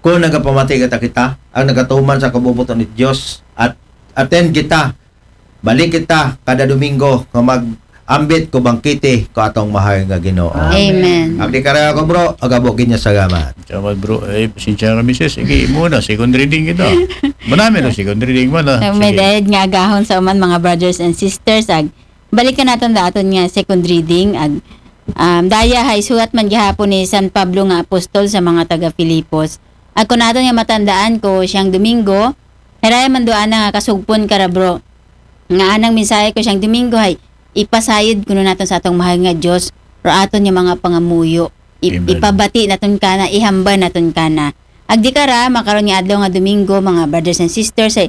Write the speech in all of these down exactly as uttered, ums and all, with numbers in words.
Kung nagapamati kita, kita, ang nagatuman sa kabubuton ni Dios, at attend kita, balik kita kada Domingo nga mag-ambit ko bangkete ko atong mahal nga Ginoo. Amen. Abdi karaya ko, bro, agabo ginya salamat. Salamat, bro. Eh, pasensya na, misis. Sige, muna, second reading kita. Manami na second reading man, ah. So, may Sige. dayad nga agahon sa uman, mga brothers and sisters, ag balikan naton da aton nga second reading, ag um, daya hay sulat man gihapon ni San Pablo nga apostol sa mga taga Filipos. Ag kun aton nga matandaan ko siyang Domingo, haraya man do ana nga kasugpon kara, bro. Nga anang mensahe ko siyang Domingo hay ipasayod kuno naton sa atong mahal nga Dios, ro aton nga mga pangamuyo. I- Amen. Ipabati naton kana, ihambal naton kana. Agdi kara, makaron nga adlaw nga Domingo, mga brothers and sisters, ay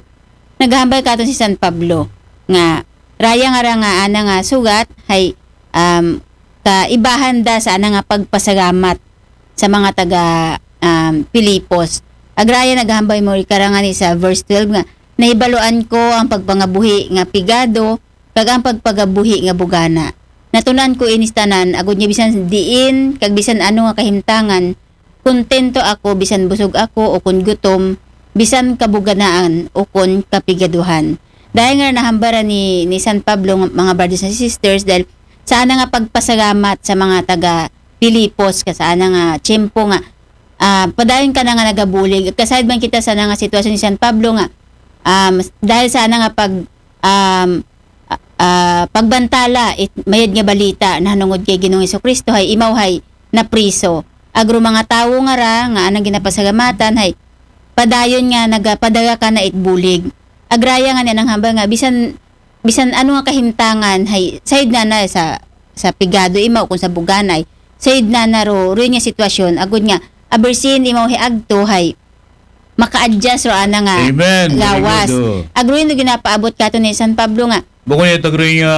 naghambal katon si San Pablo nga raya nga ra nga ana nga sugat hay um, kaibahan da sa ana nga pagpasalamat sa mga taga um, Filipos. Agraya naghambal mo kara nga ni sa verse twelve nga, "Nahibaluan ko ang pagpangabuhi nga pigado kag ang pagpagabuhi nga bugana. Natunan ko inis tanan, agud nga bisan diin kag bisan ano nga kahimtangan, kontento ako bisan busog ako o kun gutom, bisan kabuganaan o kun kapigaduhan." Dahil nga nahambara ni, ni San Pablo, mga brothers and sisters, dahil sa ana nga pagpasalamat sa mga taga Filipos ka sa ana nga tiyempo nga ah, padayon ka na nga nagabulig. Kasayod man kita sa ana nga sitwasyon ni San Pablo nga um, dahil sa ana nga pag um, ah, ah, pagbantala it mayad nga balita nahanungod kay Ginoong Hesukristo hay imaw hay napriso. Agro mga tawo nga ra nga anang ginapasalamatan hay padayon nga nagapadala kana it bulig. Agraya nga ni anang hambal nga bisan bisan ano nga kahimtangan hay sayod na na sa sa pigado imaw kung sa buganay, sayod na na ro rin nga sitwasyon agud nga abersin imaw hay agto hay maka-adjust ro ana nga Amen. Very lawas. good, oh. Agro yun ginapaabot kato ni San Pablo nga Bukod niya, tagro nga,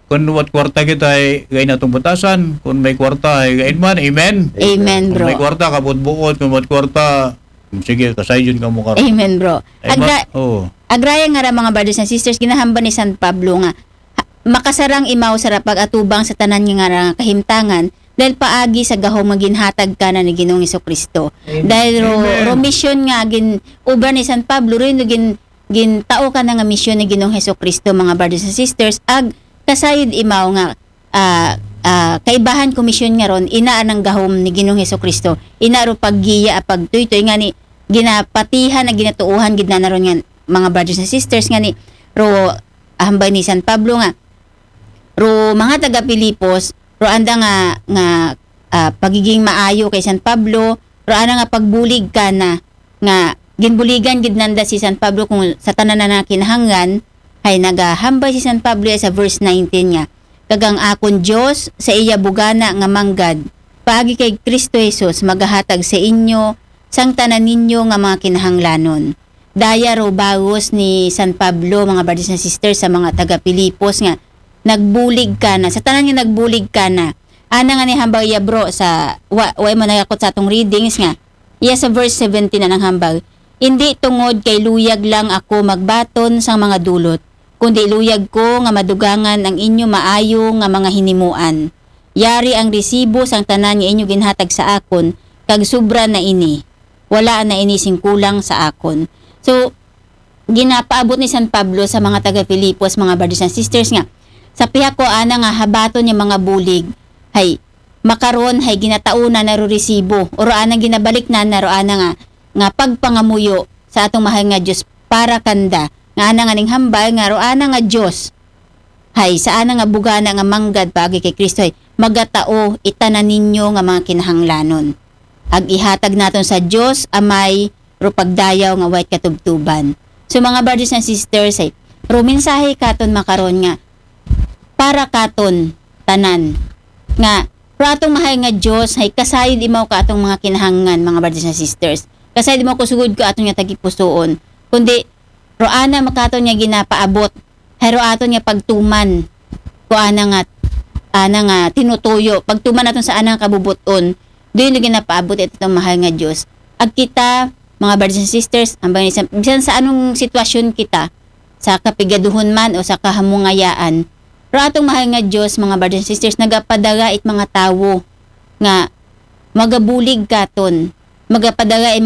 kung wat kwarta kita ay gain atong batasan, kung may kwarta ay gain man, amen. Amen, Kung bro. May kwarta, kabot-buot, kung wat kwarta, sige, kasayod ka mo ka. Amen, bro. Ay, Agra- ma- oh. Agraya nga ra, mga brothers and sisters, ginahambal ni San Pablo nga ha- makasarang imaw sa ra pag-atubang sa tanan nga ra nga kahimtangan dahil paagi sa gahom nga ginhatag kana ni Ginoong Hesukristo. Dahil ro, Amen. Ro misyon nga gin obra ni San Pablo rin no gin gintao kana nga misyon ni Ginoong Hesukristo, mga brothers and sisters, ag kasayod imaw nga ah, ah, kaibahan komisyon nga ron, ina anang gahom ni Ginoong Hesukristo, ina ro paggiya a pagtuytoy nga ni ginapatihan a ginatuohan gid na ron nga mga brothers and sisters nga ni ro hambal ni San Pablo nga ro mga taga Filipos ro anda nga nga ah, pagiging maayo kay San Pablo ro ana nga pagbulig kana nga ginbuligan gid nanda si San Pablo kung sa tanan na kinahanglan hay nagahambal si San Pablo sa verse nineteen nga kag ang akon Dios sa iya bugana nga manggad paagi kay Kristo Jesus magahatag sa inyo sang tanan ninyo nga mga kinahanglanon. Daya ro bawos ni San Pablo, mga brothers and sisters, sa mga taga Filipos nga nagbulig kana, sa tanan nga nagbulig kana. Ana nga ni hambal iya, bro, sa wa, wa mo nagakot sa atong readings nga iya sa verse seventeen anang hambal, "Indi tungod kay luyag lang ako magbaton sang mga dulot, kundi luyag ko nga madugangan ang inyo maayo nga mga hinimuan. Yari ang resibo sang tanan nga inyo ginhatag sa akon, kag sobra na ini. Wala na ini sing kulang sa akon." So, ginapaabot ni San Pablo sa mga taga Filipos, mga brothers and sisters, nga sa pihak ko ana nga habaton nga mga bulig, hay makaron hay ginatauna na ro resibo, o ro ana ginabalik na na ro ana nga nga pagpangamuyo sa atong mahal nga Dios para kanda, nga ana nga ning hambal nga ro ana nga Dios hay sa ana nga bugana nga manggad paagi kay Kristo hay magatao itanan ninyo nga mga kinahanglanon. Ag ihatag naton sa Dios Amay ro pagdayaw nga way katubtuban. So, mga brothers and sisters, ay ro mensahe katon makaron nga para katon tanan nga ro atong mahal nga Dios hay kasayod imaw ka atong mga kinahanglan, mga brothers and sisters. Kasayod imaw kusugod ko aton nga tagipusoon, kundi ro ana makaton nga ginapaabot hay ro aton nga pagtuman ko ana nga ana nga tinutuyo, pagtuman naton sa ana nga kabubuton. Doon yung ginapaabot ito atong mahal nga Dios. Ag kita, mga brothers and sisters, ang bangin sa, bisan sa anong sitwasyon kita, sa kapigaduhon man o sa kahamungayaan, ro atong mahal nga Dios, mga brothers and sisters, nagapadara it mga tawo nga magabulig katon, magapadara it